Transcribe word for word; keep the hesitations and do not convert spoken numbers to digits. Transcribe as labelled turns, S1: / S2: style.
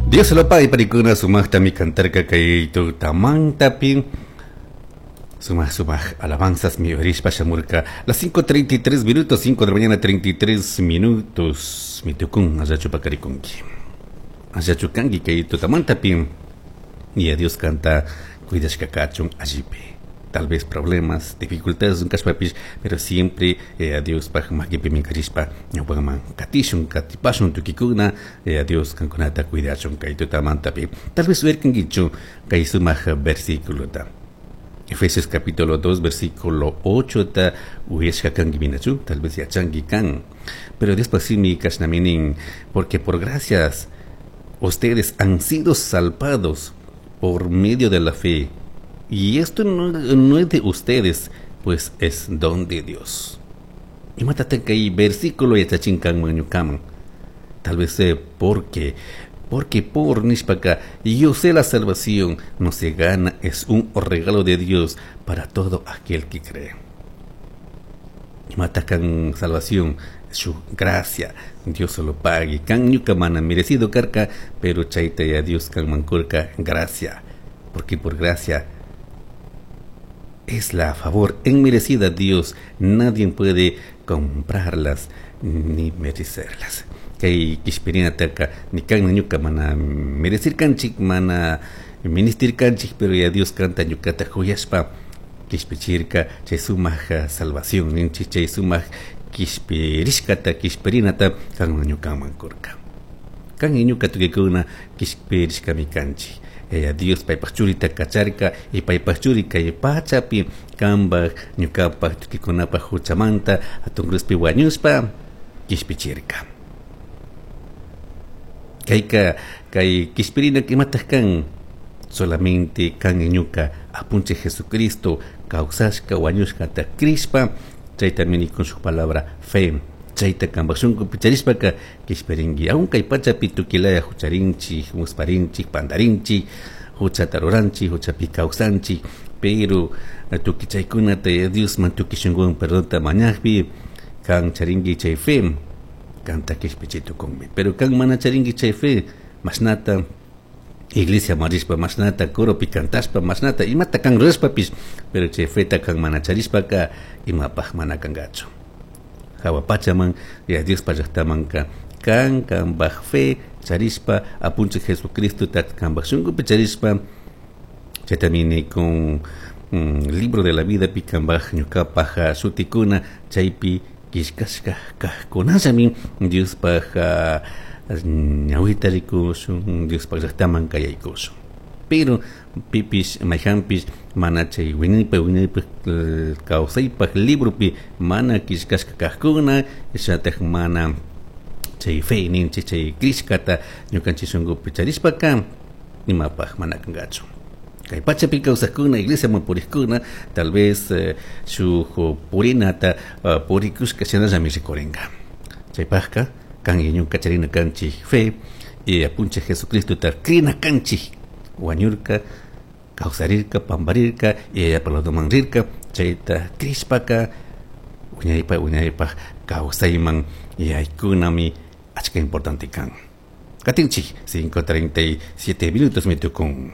S1: Dios lo pague parikuna sumaqtami kantarka kay tutamantapi sumaq sumaq alabanzas mi orishpa shamurka las cinco treinta y tres minutos, cinco de la mañana treinta y tres minutos. Mi tukun allachu pakarikunki, allachu kanki kay tutamantapi? Y a Dios kanta cuidashka kachun allipi. Tal vez problemas, dificultades kashpapish, pero siempre eh, a Dios paj makipi minkarishpa ñawpaman katishun, katipashun tukikuna. eh, a Dios kankunata cuidachun kay tutamantapi. Tal vez uyarkankichu kay sumaq versículota, Efesios capítulo dos versículo ocho ta uyashka kanki minachu, tal vez yachanki kan. Pero después simi kashnami nin: "Porque por gracias ustedes han sido salvados por medio de la fe. Y esto no, no es de ustedes, pues es don de Dios". Imatataq kay versículo yachachin kanman ñukaman? Tal vez eh, porque porque por nishpaka, yo sé, la salvación no se gana, es un regalo de Dios para todo aquel que cree. Imata kan salvación? Su gracia, Dios solo pague. Kan ñuka mana merecido karka, pero chayta ya Dios kanman kurka gracia, porque por gracia es la favor enmerecida Dios, nadie puede comprarlas ni merecerlas. Kay kishpirinataka ni kan ñuka mana merecer kanchik, mana ministir kanchik, pero ya Dios kanta ñukata juyashpa kishpichirka. Chay sumaq salvación ninchik, chay sumaq kishpirishkata, kishpirinata kan ñukaman kurka. Kan ñuka tukikuna kishpirishkami kanchik. Yaya Dios paypaj churita kacharka y paypaj churi kay pachapi kanpaj ñukapaj tukikunapaj huchamanta hatun cruzpi wañushpa kishpichirka. Kayka kay kishpirina imataq kan? Solamente kan ñuka apunchik Jesucristo kawsashka wañushkata crishpa, chaytami nikun shuk palabra, fe. Chayta kanpaj shunkupi charishpaka kishpirinki. Aun kay pachapi tukilaya hucharinchik, musparinchik, pantarinchik, huchata ruranchik, huchapi kawsanchik, pero tukuy chaykunata Diosman tukuy shunkuwan perdonta mañakpi, kan charinki chay fe, kanta kishpichi tukunmi. Pero kan mana charinki chay fe, mashnata iglesia marishpa, mashnata coropi cantashpa, mashnata imata kan rurashpapish, pero chay feta kan mana charishpaka imapaj mana kankachu hawa pachaman ya Diospa llaqtamanka. Kan kanpaj fe charishpa, apunchik Jesucristo kanpaj shunkupi charishpa, chaytami nikun mm, libro de la vida pi kanpaj ñukapaj shutikuna chaypi killkashka kajkunallami Diospaj ñawita rikushun, Diospaj llaqtaman kayaykushun. Pero pipish mayhanpish mana chay wiñaypaq wiñaypaq kawsaypaq libropi mana killkashka kajkuna, shinataq mana chay fe ninchik, chay crishkata ñukanchik shunkupi charishpaka imapaj mana kankachu. Kay pachapi kawsakuna, iglesiaman purikkuna, tal vez eh, shuk purinata uh, purikushka shinallami rikurinka. Chaypajka kan ñuka charina kanchik fe y apunchik Jesucristota crina kanchik, wañurka, kawsarirka, pamparirka y Yayapa rirka. Chayta crishpaka wiñaypaq wiñaypaq kawsayman yaykunami achka importante kan. Katinchik, cinco treinta y siete minutos mi tukun.